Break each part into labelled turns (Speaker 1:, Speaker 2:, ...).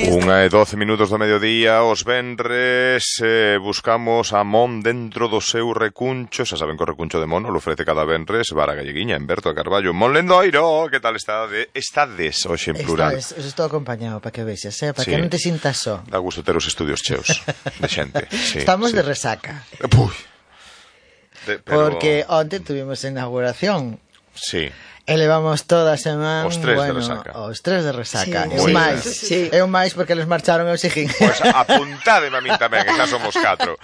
Speaker 1: 1:12 do mediodía, os venres, buscamos a Mon dentro do seu recuncho. Xa saben que o recuncho de Mon lo ofrece cada venres Vara Galleguiña, en Berto de Carballo. Mon Lendoiro, que tal estades hoxe en plural?
Speaker 2: Estou acompañado, para que vexas, para que non te sintas só.
Speaker 1: Dá gusto ter os estudios cheos de xente.
Speaker 2: Estamos de resaca. Porque onte tuvimos inauguración.
Speaker 1: Sí.
Speaker 2: E levamos toda a semana
Speaker 1: os tres de resaca.
Speaker 2: Os tres de resaca.
Speaker 1: Sí,
Speaker 2: é un máis porque eles marcharon e eu seguín.
Speaker 1: Pois apuntádeme a min tamén, que xa somos 4.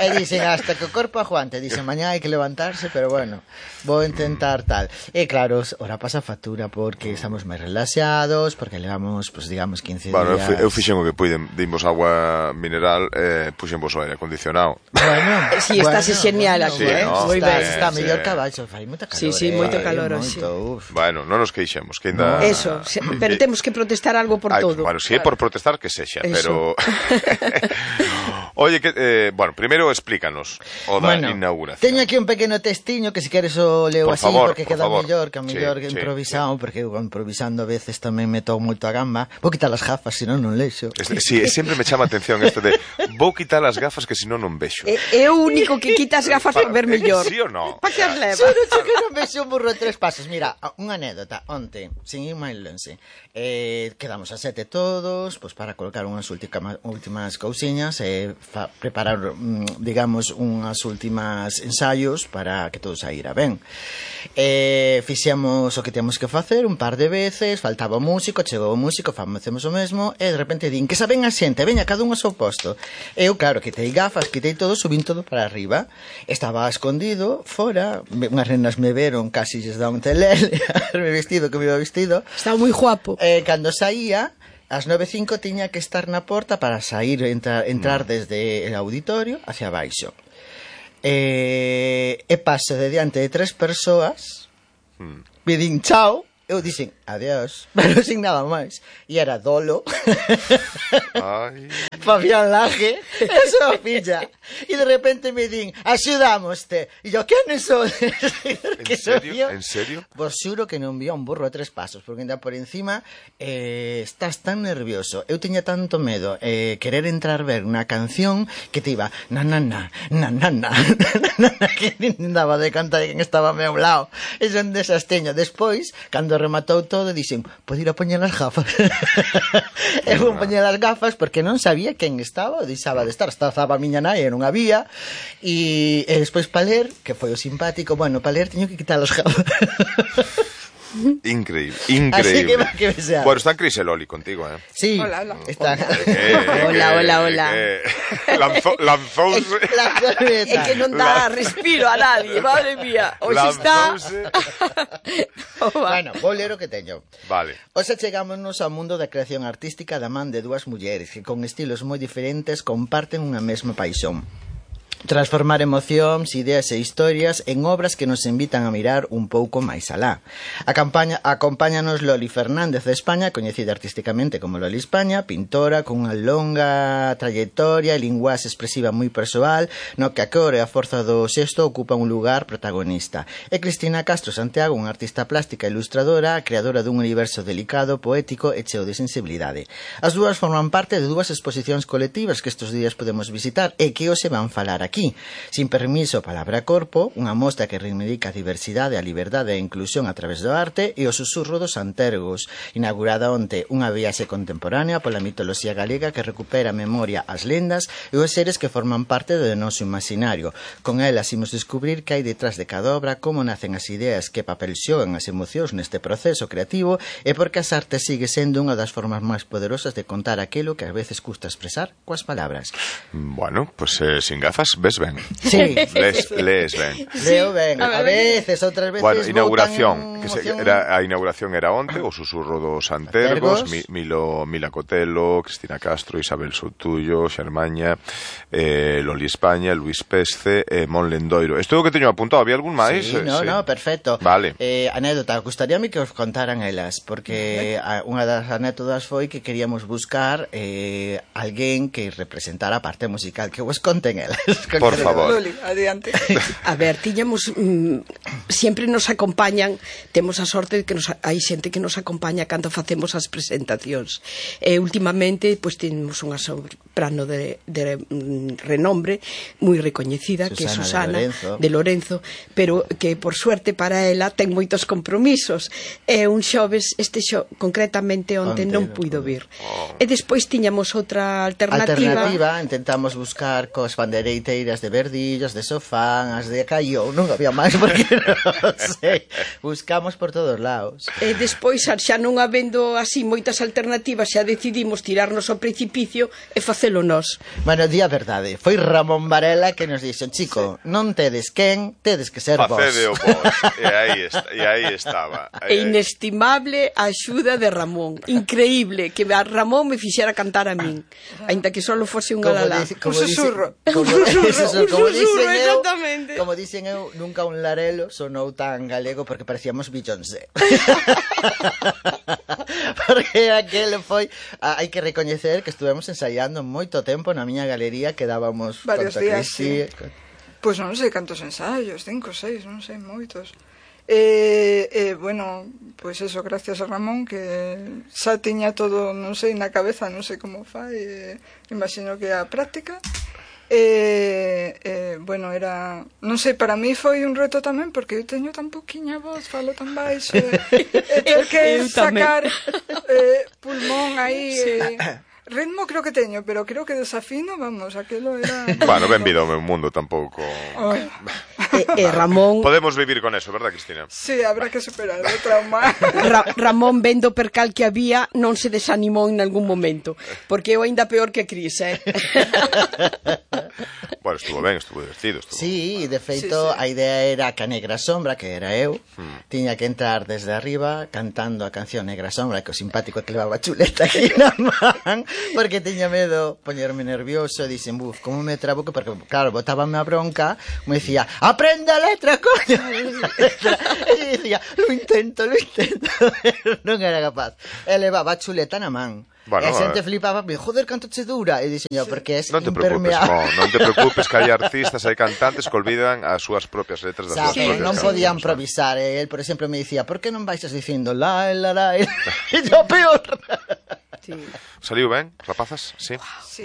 Speaker 2: E dicen, hasta que o corpo aguante. Dicen, mañá hai que levantarse, pero bueno, vou intentar tal. E claro, ora pasa factura porque estamos máis relaxados, porque levamos, pues, digamos, 15 días.
Speaker 1: Bueno, eu fixen o que puiden, dimos agua mineral, puxen vos o aire acondicionado.
Speaker 3: Bueno, si estás genial aquí,
Speaker 1: ¿no?
Speaker 3: Moi ben.
Speaker 2: Está mellor que abaixo, fai moita calor.
Speaker 3: Sí, moito calor.
Speaker 1: Bueno, non nos queixemos, que ainda...
Speaker 3: Eso, pero temos que protestar algo por todo.
Speaker 1: Bueno, si é por protestar que sexa, pero... Oye, bueno, primeiro explícanos o da inauguración.
Speaker 2: Teño aquí un pequeno textiño que se queres o leo así, porque queda mellor, que mellor improvisado, porque eu improvisando a veces tamén meto moito a gamba. Vou quitar as gafas, senón non lexo.
Speaker 1: Sí, sempre me chama a atención isto de vou quitar as gafas que senón non vexo.
Speaker 3: É o único que quita as gafas para ver mellor.
Speaker 1: Sí ou non?
Speaker 3: Para que as leva?
Speaker 2: Solo que non vexo un burro de 3 pasos. Mira, unha anécdota, onte, sin ir máis lonxe, quedamos a 7 todos, pois para colocar unhas últimas cousiñas e preparar, digamos, unhas últimas ensaios para que todo saíra ben. Fixemos o que temos que facer un par de veces, faltaba o músico, chegou o músico, facemos o mesmo, e de repente din, que saben a xente, veña, cada un ao seu posto. Eu, claro, quitei gafas, quitei todo, subín todo para arriba, estaba escondido, fora, unhas nenas me veron, casi lles dá un telele, me vestido que me iba vestido.
Speaker 3: Estaba moi guapo.
Speaker 2: Cando saía, ás 9:05 tiña que estar na porta para sair, entrar desde o auditorio hacia baixo. E paso de diante de 3 persoas, me din chao, eu dixen adiós, pero sin nada máis. E era Dolo, Fabián Laje, e súa filla. E de repente me din, axudámoste. E yo, quen son?
Speaker 1: En serio?
Speaker 2: Vos xuro que non vía un burro a 3 pasos, porque ainda por encima estás tan nervioso. Eu tiña tanto medo querer entrar ver unha canción que te iba na, que nin daba de conta de quen estaba ao meu lado. E son desas teño. Despois, cando rematou todo, dixen, pode ir a poñer as gafas. E vou poñer as gafas porque non sabía quen estaba, deixaba de estar, estaba a miña nai e non había. E despois para ler, que foi o simpático, bueno, para ler teño que quitar as gafas.
Speaker 1: Increíble.
Speaker 2: Así que sea.
Speaker 1: Bueno, está Cris Eloli contigo,
Speaker 2: Sí.
Speaker 3: Hola.
Speaker 2: Está.
Speaker 3: Hola.
Speaker 1: Lanzouse.
Speaker 3: É que non dá respiro a nadie, madre mía. Hoxe está...
Speaker 2: Bueno, vou ler o que teño.
Speaker 1: Vale.
Speaker 2: Hoxe chegámonos ao mundo da creación artística da man de dúas mulleres que con estilos moi diferentes comparten unha mesma paixón. Transformar emocións, ideas e historias en obras que nos invitan a mirar un pouco máis alá. Acompáñanos Loli Fernández de España, coñecida artísticamente como Loli España, pintora con unha longa trayectoria e linguaxe expresiva moi persoal, no que a cor e a forza do xesto ocupa un lugar protagonista. E Cristina Castro Santiago, unha artista plástica e ilustradora, creadora dun universo delicado, poético e cheo de sensibilidade. As dúas forman parte de dúas exposicións colectivas que estes días podemos visitar e que hoxe van falar aquí. Sin permiso, palabra corpo, unha mostra que reivindica a diversidade, a liberdade e a inclusión a través do arte e o susurro dos antergos, inaugurada onte unha viaxe contemporánea pola mitoloxía galega que recupera a memoria, as lendas e os seres que forman parte do noso imaginario. Con elas imos descubrir que hai detrás de cada obra, como nacen as ideas, que papel xogan as emocións neste proceso creativo e porque as artes sigue sendo unha das formas máis poderosas de contar aquilo que ás veces custa expresar coas palabras.
Speaker 1: Bueno, pues sin gafas ves ben.
Speaker 2: Sí.
Speaker 1: Lees ben.
Speaker 2: Leo ben. A veces, outras veces...
Speaker 1: Bueno, inauguración. A inauguración era onte, o susurro dos antergos, Mila Cotelo, Cristina Castro, Isabel Soutullo, Xermaña, Loli España, Luis Pesce, Mon Lendoiro. Isto é o que teño apuntado. Había algún máis?
Speaker 2: Sí, no, perfecto.
Speaker 1: Vale.
Speaker 2: Anécdota, gustaríame que os contaran elas, porque unha das anécdotas foi que queríamos buscar alguén que representara a parte musical, que vos conten elas.
Speaker 1: Por favor.
Speaker 3: Loli, adiante.
Speaker 4: A ver, tiñamos sempre nos acompañan, temos a sorte de que hai xente que nos acompaña cando facemos as presentacións. Últimamente, pois temos unha soprano de renombre moi recoñecida, que é Susana de Lorenzo, pero que por suerte para ela ten moitos compromisos. Un xoves, concretamente onte non puido vir. E despois tiñamos outra alternativa,
Speaker 2: intentamos buscar cos bandeireiras de Verdillos, de Sofán, as de Caión, non había máis porque non sei, buscamos por todos lados.
Speaker 4: E despois, xa non habendo así moitas alternativas, xa decidimos tirarnos ao precipicio e facelo nós.
Speaker 2: Bueno, di a verdade, foi Ramón Varela que nos dixo, chico, non tedes quen, tedes que ser vos.
Speaker 1: Facede o vos, e aí estaba.
Speaker 4: Inestimable a axuda de Ramón, increíble, que a Ramón me fixera cantar a min, ainda que só fose un alalá.
Speaker 3: Un susurro.
Speaker 2: Como dicen eu, nunca un larelo sonou tan galego porque parecíamos Beyoncé. Porque aquel foi, hai que recoñecer que estuvemos ensaiando moito tempo na miña galería, que dábamos
Speaker 3: varios días, sí. Pois non sei cantos ensaios, 5, 6, non sei, moitos. Bueno, pois eso, gracias a Ramón, que xa tiña todo, non sei, na cabeza, non sei como fai, imagino que a práctica. Bueno, era, non sei, para mí foi un reto tamén, porque eu teño tan poquinha voz, falo tan baixo, ter que sacar pulmón aí, ritmo creo que teño, pero creo que desafino, vamos, aquilo era...
Speaker 1: Bueno, benvido ao meu mundo, tampouco...
Speaker 4: Ramón...
Speaker 1: Podemos vivir con eso, verdad, Cristina?
Speaker 3: Sí, habrá que superar o trauma.
Speaker 4: Ramón, vendo o percal que había, non se desanimou en algún momento, porque eu ainda peor que Cris,
Speaker 1: Bueno, estuvo ben, estuvo divertido.
Speaker 2: Sí, de feito, a idea era que a Negra Sombra, que era eu, tiña que entrar desde arriba cantando a canción Negra Sombra, que o simpático que levaba chuleta aquí na man, porque tiña medo poñerme nervioso, e dixen, como me trabuco, porque claro, botábame a bronca, me dicía, aprende a letra, coño. E dicía, lo intento, non era capaz. E levaba chuleta na man. Bueno, e a xente flipaba, joder, canto che dura, e dixen, porque é impermeable.
Speaker 1: Non te preocupes, que hai artistas, hai cantantes que olvidan as súas propias letras das súas propias
Speaker 2: non podía improvisar. El, por exemplo, me dicía, por que non baixas dicindo la, e yo peor.
Speaker 1: Saliu ben, rapazas? Sí.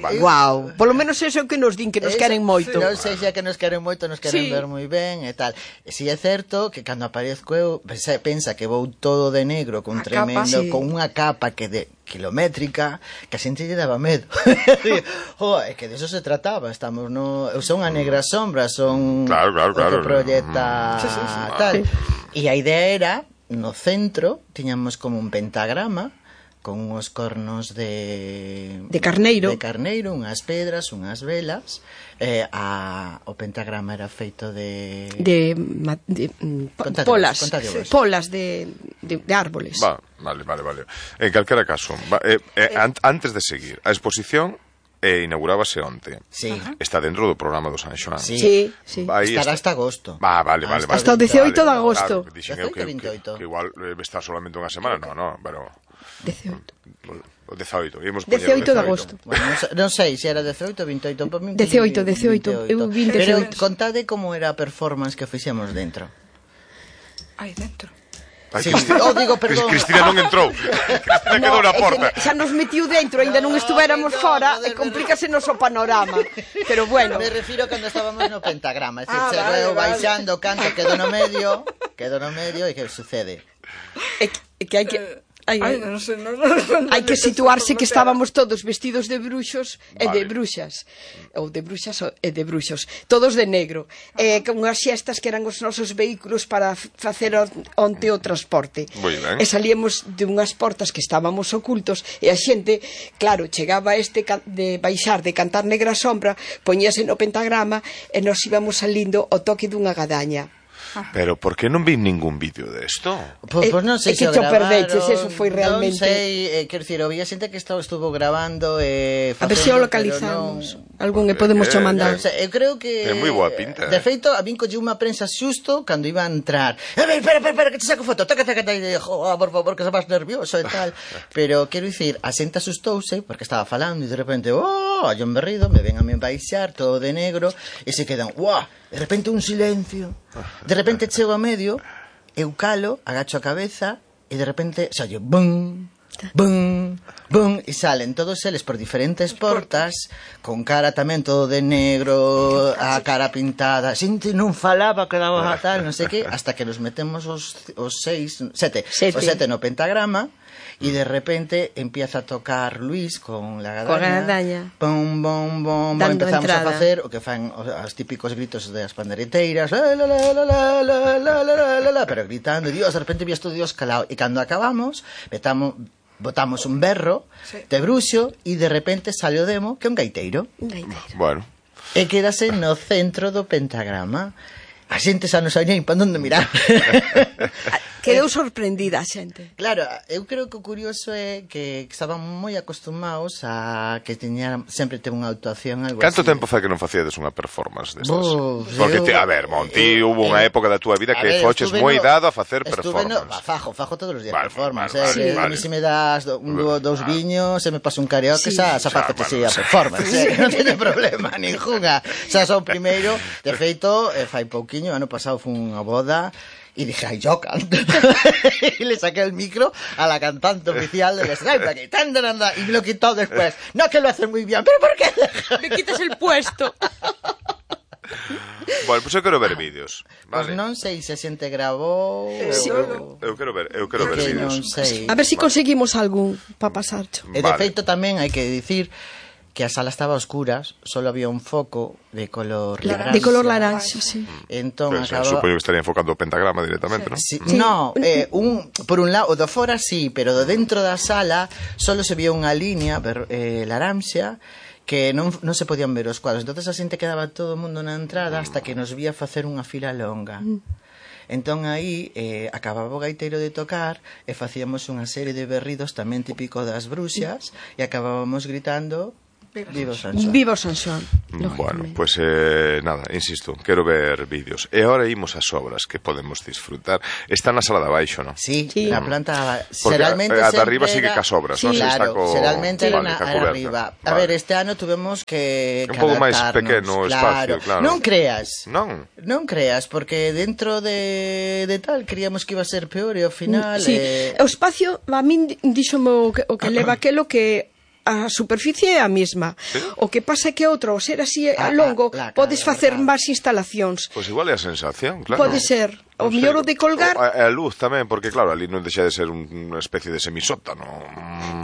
Speaker 4: Vale. Guau, polo menos eso é o que nos din, que nos queren moito.
Speaker 2: Non sei xa que nos queren moito, nos queren ver moi ben e tal. Si é certo que cando aparezco eu, pensa que vou todo de negro, con unha capa que de kilométrica, que a xente lle daba medo. É que de eso se trataba, estamos no... Eu son a Negra Sombra, son
Speaker 1: claro.
Speaker 2: o que proyecta tal. E a idea era, no centro, tiñamos como un pentagrama, con uns cornos de
Speaker 4: carneiro,
Speaker 2: unhas pedras, unhas velas, o pentagrama era feito de
Speaker 4: polas de árboles.
Speaker 1: Vale. En calquera caso, antes de seguir, a exposición inaugurábase onte.
Speaker 2: Sí.
Speaker 1: Está dentro do programa do San Xoán.
Speaker 4: Sí.
Speaker 2: Estará hasta agosto.
Speaker 1: Vale.
Speaker 4: Hasta o 18 de agosto.
Speaker 1: Dixen eu que igual está solamente unha semana, non, pero...
Speaker 4: 18.
Speaker 1: O 18, íamos
Speaker 4: 18 de agosto.
Speaker 2: Bueno, non sei se era 18 ou 28.
Speaker 4: 18. Eu vin 18.
Speaker 2: Pero contade como era a performance que fixemos dentro.
Speaker 3: Aí dentro.
Speaker 2: Sí, digo, perdón.
Speaker 1: Cristina non entrou. Cristina quedou na porta.
Speaker 4: Xa nos metiu dentro, ainda non estuéramos fora, e complícasenos o panorama. Pero bueno.
Speaker 2: Me refiro cando estábamos no pentagrama, é dicir, chego baixando, canto, quedo no medio, e que sucede?
Speaker 4: É que hai que... Hai que situarse que estábamos todos vestidos de bruxos e de bruxas, ou de bruxas e de bruxos, todos de negro, con unhas xestas que eran os nosos vehículos para facer onte o transporte. E salíamos de unhas portas que estábamos ocultos, e a xente, claro, chegaba de baixar, de cantar Negra Sombra, poñíase no pentagrama, e nos íbamos salindo ao toque dunha gadaña.
Speaker 1: Pero por que non vi ningún vídeo desto?
Speaker 2: Pois non sei se o gravaron.
Speaker 4: Perdeches, eso foi realmente...
Speaker 2: Non sei, quero dicir, había xente que estuvo grabando
Speaker 4: a ver se o localizamos. Algún e podemos cho mandar.
Speaker 2: Eu creo que...
Speaker 1: É moi boa pinta.
Speaker 2: De feito, a min colleu unha prensa xusto cando iba a entrar. A ver, espera, que te saco foto. Taca, por favor, que se vas nervioso e tal. Pero, quero dicir, a xente asustouse porque estaba falando e de repente, hai un berrido, me ven a me baixar, todo de negro, e se quedan, de repente un silencio. De repente chego a medio, eu calo, agacho a cabeza, e de repente saio, bum, bum, bum, e salen todos eles por diferentes portas, con cara tamén todo de negro, a cara pintada, xente non falaba, quedaba tal, non sei que, hasta que nos metemos os sete no pentagrama, e de repente empieza a tocar Luis con la gadaña, bom, bom, bom, empezamos a facer o que fan os típicos gritos das pandereteiras, pero gritando, Dios, de repente vi esto Dios calado, e cando acabamos botamos un berro de bruxo e de repente sale o demo que é un gaiteiro.
Speaker 1: Bueno.
Speaker 2: E quedase no centro do pentagrama. A xente xa non sabía para onde mirar.
Speaker 4: Quedou sorprendida a xente.
Speaker 2: Claro, eu creo que o curioso é que estaban moi acostumados a que sempre teve unha actuación algo
Speaker 1: Canto
Speaker 2: así.
Speaker 1: tempo fai que non facíades unha performance destas? Porque, a ver, Monti, hubo unha época da túa vida que foches moi dado a facer performance.
Speaker 2: Fajo todos os días performance.
Speaker 1: A
Speaker 2: mí se me das dous viños, se me pasa un carioca, xa faco que sea performance. Non teño problema, ninguna. Xa son primeiro, de feito, fai pouquiño, ano pasado foi unha boda, y dije, ay, yo canto. Y le saqué el micro a la cantante oficial del Skype aquí, y me lo quitó después. No, que lo hace muy bien, pero ¿por qué?
Speaker 4: Me quitas el puesto.
Speaker 1: Bueno, pues eu quero ver vídeos.
Speaker 2: Vale. Pues non sei se a xente grabou.
Speaker 1: Eu quero ver vídeos.
Speaker 4: A ver se conseguimos algún para pasarcho.
Speaker 2: E de feito tamén hai que dicir que a sala estaba a oscuras, solo había un foco de color
Speaker 4: laranja. De color laranja, sí.
Speaker 2: Entón,
Speaker 1: supoño que estaría enfocando o pentagrama directamente, ¿no?
Speaker 2: Sí. No, por un lado, o de fora sí, pero de dentro da sala solo se vía unha línea laranja que non se podían ver os cuadros. Entonces a xente quedaba todo o mundo na entrada hasta que nos vía facer unha fila longa. Entón aí acababa o gaiteiro de tocar e facíamos unha serie de berridos tamén típico das bruxas e acabábamos gritando Viva San Xoán.
Speaker 4: Viva San Xoán.
Speaker 1: Bueno, pues nada, insisto, quero ver vídeos. E agora imos ás obras que podemos disfrutar. Está na sala de abaixo, non?
Speaker 2: Sí, na planta
Speaker 1: xeralmente a de arriba sigue cas obras, non?
Speaker 2: Claro, xeralmente era arriba. A ver, este ano tuvemos que
Speaker 1: un pouco máis pequeno o espacio, claro.
Speaker 2: Non creas.
Speaker 1: Non
Speaker 2: creas, porque dentro de tal queríamos que iba a ser peor e ao final...
Speaker 4: Sí, o espacio, a min díxome o que leva aquelo que a superficie é a mesma. ¿Sí? O que pasa é que outro, ao ser así a longo, podes facer máis instalacións.
Speaker 1: Pois igual é a sensación, claro.
Speaker 4: Pode ser. O mellor o de colgar...
Speaker 1: A luz tamén, porque claro, ali non deixa de ser unha especie de semisótano.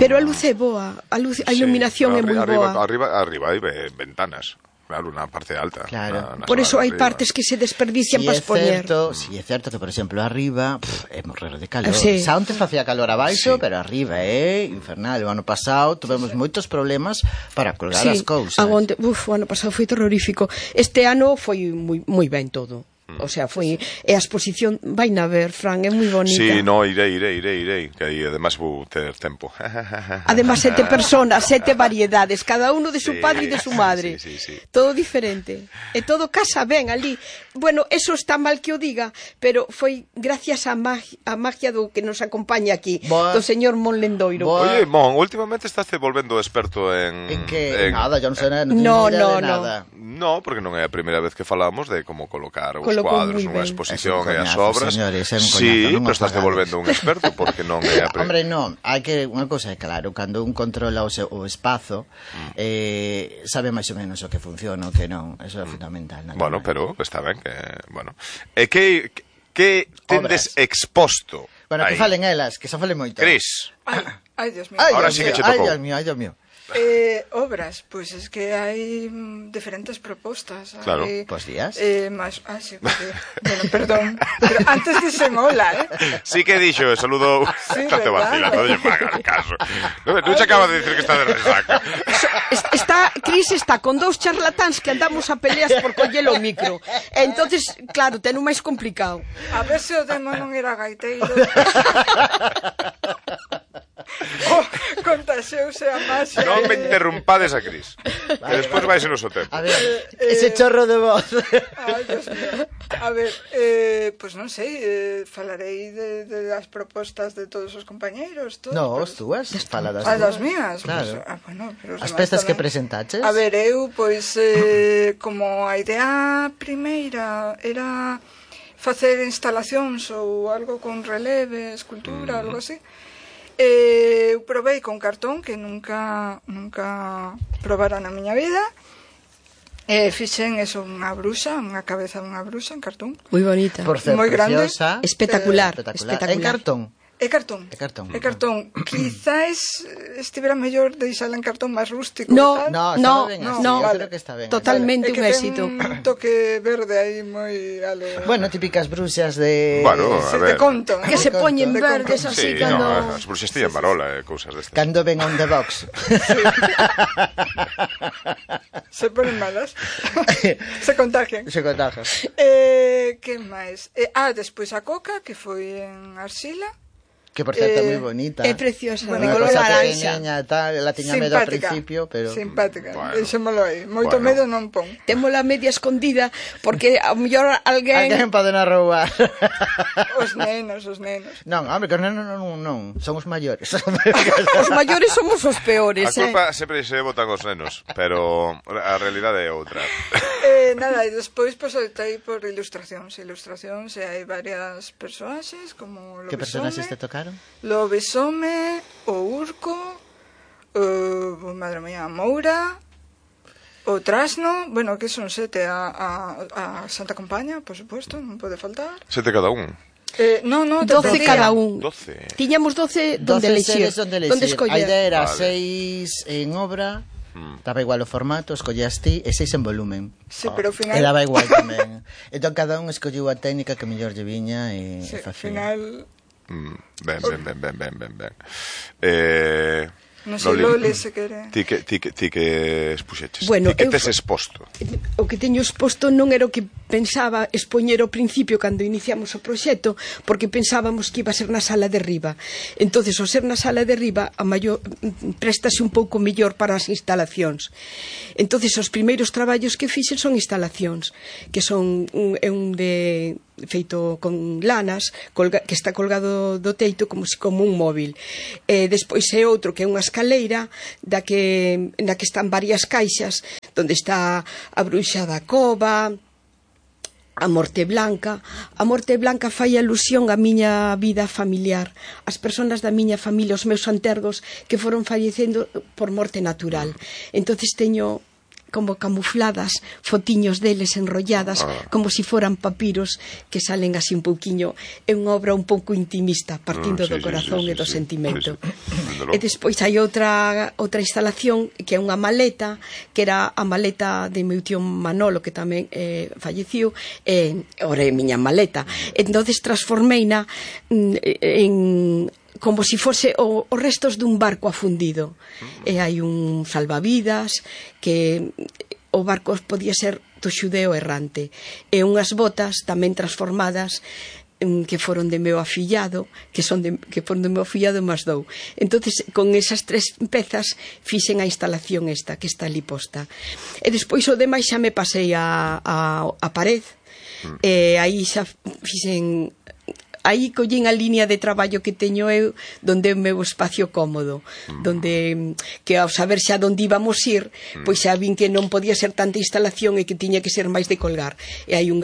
Speaker 4: Pero a luz é boa, a iluminación é moi boa.
Speaker 1: Arriba hai ventanas. Claro, na parte alta.
Speaker 2: Claro.
Speaker 4: Por eso hai partes que se desperdician para expoñer.
Speaker 2: Si é certo que, por exemplo, arriba é morrer de calor. Xa onte facía calor abaixo, pero arriba é infernal. O ano pasado tuvemos moitos problemas para colgar as cousas.
Speaker 4: O ano pasado foi terrorífico. Este ano foi moi ben todo. O sea, foi a exposición vai na ver, Fran, é moi bonita.
Speaker 1: Sí, no, irei, que aí además vou ter tempo.
Speaker 4: Además 7 personas, 7 variedades, cada uno de su padre e de su madre.
Speaker 1: Sí.
Speaker 4: Todo diferente. E todo casa ben ali. Bueno, eso está mal que o diga, pero foi gracias á magia do que nos acompaña aquí, do señor Mon Lendoiro.
Speaker 1: Oye, Mon, últimamente estás volvendo experto en
Speaker 2: que nada, yo non sei nada.
Speaker 1: No, porque non é a primeira vez que falamos de como colocar os cuadros nunha exposición e as obras. Sí, pero estás devolvendo un experto porque non é a primeira.
Speaker 2: Hombre, non, hai que unha cousa é claro, cando un controla o espazo, sabe máis ou menos o que funciona o que non, eso é fundamental.
Speaker 1: Bueno, pero está ben que, bueno. E que tendes exposto?
Speaker 2: Bueno, que falen elas, que xa falen moito.
Speaker 1: Cris.
Speaker 3: Ai, Dios mío.
Speaker 1: Ahora sí que che tocou.
Speaker 2: Ai, Dios mío.
Speaker 3: Obras, pois es que hai diferentes propostas.
Speaker 1: Claro.
Speaker 2: Pues días.
Speaker 3: Sí, bueno, perdón, pero antes dixen hola,
Speaker 1: Sí que dixo, saludo.
Speaker 3: Sí,
Speaker 1: Estate
Speaker 3: verdad.
Speaker 1: vacilando, non lle fagas caso. Non se acaba de decir que está de resaca.
Speaker 4: Cris está con dous charlatáns que andamos a peleas por collelo o micro. E entonces, claro, ten un máis complicado.
Speaker 3: a ver se o demo non era gaiteiro. Contaxeuse a máxima.
Speaker 1: Non me interrumpades a Cris. Que despois vai ser o seu tempo.
Speaker 2: A ver, ese chorro de voz.
Speaker 3: Ai, Dios mío. A ver, pues non sei, falarei de as propostas de todos os compañeiros.
Speaker 2: No, as túas, fala das
Speaker 3: das
Speaker 2: túas.
Speaker 3: mías.
Speaker 2: Claro.
Speaker 3: Pues, bueno, pero os
Speaker 2: As
Speaker 3: demais
Speaker 2: pezas que
Speaker 3: tamén.
Speaker 2: presentaches.
Speaker 3: A ver, eu, pois, como a idea primeira era facer instalacións ou algo con releve, escultura, algo así, eu probei con cartón, que nunca probara na miña vida. Fixen eso, unha bruxa, unha cabeza dunha bruxa en cartón.
Speaker 4: Moi bonita.
Speaker 2: Por ser
Speaker 3: moi grande.
Speaker 2: preciosa.
Speaker 4: Espectacular.
Speaker 2: En cartón.
Speaker 3: É cartón.
Speaker 2: É cartón.
Speaker 3: É cartón. Quizás estivera mellor deixala en cartón máis rústico.
Speaker 4: No,
Speaker 3: e tal.
Speaker 2: No,
Speaker 4: no,
Speaker 2: está ben
Speaker 4: no,
Speaker 2: así,
Speaker 4: no.
Speaker 2: eu
Speaker 3: Vale.
Speaker 2: creo que está ben.
Speaker 4: Totalmente
Speaker 3: É que
Speaker 4: un éxito.
Speaker 3: ten un toque verde aí moi ale.
Speaker 2: Bueno, típicas bruxas de...
Speaker 1: Bueno, a
Speaker 3: Se
Speaker 1: ver.
Speaker 3: te conto.
Speaker 4: Que se poñen
Speaker 3: De
Speaker 4: verdes
Speaker 3: conto.
Speaker 4: así
Speaker 1: Sí,
Speaker 4: cando...
Speaker 1: no, as bruxas tían varola e cousas destas.
Speaker 2: Cando ven on the box.
Speaker 3: Se ponen malas. Se contagian.
Speaker 2: Se contagia.
Speaker 3: Que máis? Despois a coca, que foi en arxila.
Speaker 2: Que por certo é moi bonita.
Speaker 4: É preciosa,
Speaker 3: Bueno,
Speaker 4: de
Speaker 2: Unha
Speaker 4: color
Speaker 2: cosa
Speaker 4: laranxa.
Speaker 2: pequeniña, tal, la tiña medo ao
Speaker 3: Simpática.
Speaker 2: principio, pero...
Speaker 3: Simpática.
Speaker 1: Bueno.
Speaker 3: Deixémolo aí. Moito
Speaker 1: Bueno.
Speaker 3: medo non pon.
Speaker 4: Témola media escondida porque ao mellor alguén...
Speaker 2: Alguén poden arroubar.
Speaker 3: Os nenos.
Speaker 2: Non, hombre, que os nenos non, son os maiores.
Speaker 4: Os maiores somos os
Speaker 1: A
Speaker 4: peores,
Speaker 1: culpa sempre se botan os nenos, pero a realidade é outra.
Speaker 3: Nada, e despois pues, optei por ilustracións, e hai varias personaxes como
Speaker 2: Que personaxes te tocaron?
Speaker 3: Lobesome, o Urco, madre mía, a Moura, o Trasno, bueno, que son 7, a Santa Compaña, por supuesto, non pode faltar.
Speaker 1: 7 cada un.
Speaker 3: No,
Speaker 4: 12 cada un.
Speaker 1: 12.
Speaker 4: Tiñamos 12 donde
Speaker 2: 12
Speaker 4: elexir.
Speaker 2: sedes onde
Speaker 4: Donde
Speaker 2: elexir. A
Speaker 4: escoller.
Speaker 2: idea era
Speaker 1: Vale.
Speaker 2: 6 en obra, daba igual o formato, escollías ti, e 6 en volumen.
Speaker 3: Sí, pero ao final...
Speaker 2: E daba igual tamén. Entón cada un escolliu a técnica que mellor lle viña e
Speaker 3: Sí, ao
Speaker 2: facía.
Speaker 3: final...
Speaker 1: Ben.
Speaker 3: Non sei, Loli, se quere...
Speaker 1: Ti que expuxeches.
Speaker 4: Bueno,
Speaker 1: ti que
Speaker 4: eu
Speaker 1: tes exposto.
Speaker 4: O que teño exposto non era o que pensaba expoñer ao principio cando iniciamos o proxecto, porque pensábamos que iba a ser na sala de riba. Entonces, ao ser na sala de riba, a maior préstase un pouco mellor para as instalacións. Entonces, os primeiros traballos que fixen son instalacións, que son un de feito con lanas que está colgado do teito como un móvil. Despois é outro que é unha escaleira na que están varias caixas onde está a bruxa da cova, a Morte Blanca. A Morte Blanca fai alusión á miña vida familiar, as persoas da miña familia, os meus antergos que foron fallecendo por morte natural. Entonces teño como camufladas fotiños deles enrolladas como si foran papiros que salen así un pouquiño. É unha obra un pouco intimista, partindo do corazón e do sentimento. E despois hai outra instalación que é unha maleta, que era a maleta de meu tío Manolo, que tamén falleciu, ora é miña maleta. Entonces transformeina en como se fose os restos dun barco afundido. E hai un salvavidas, que o barco podía ser do xudeo errante. E unhas botas tamén transformadas que foron de meu afillado, que foron de meu afillado máis dou. Entonces, con esas 3 pezas fixen a instalación esta, que está ali posta. E despois o demais xa me pasei a pared, e aí xa fixen... Aí collín a línea de traballo que teño eu, donde é o meu espacio cómodo, donde que ao saber xa onde íbamos ir, pois xa vin que non podía ser tanta instalación e que tiña que ser máis de colgar. E hai un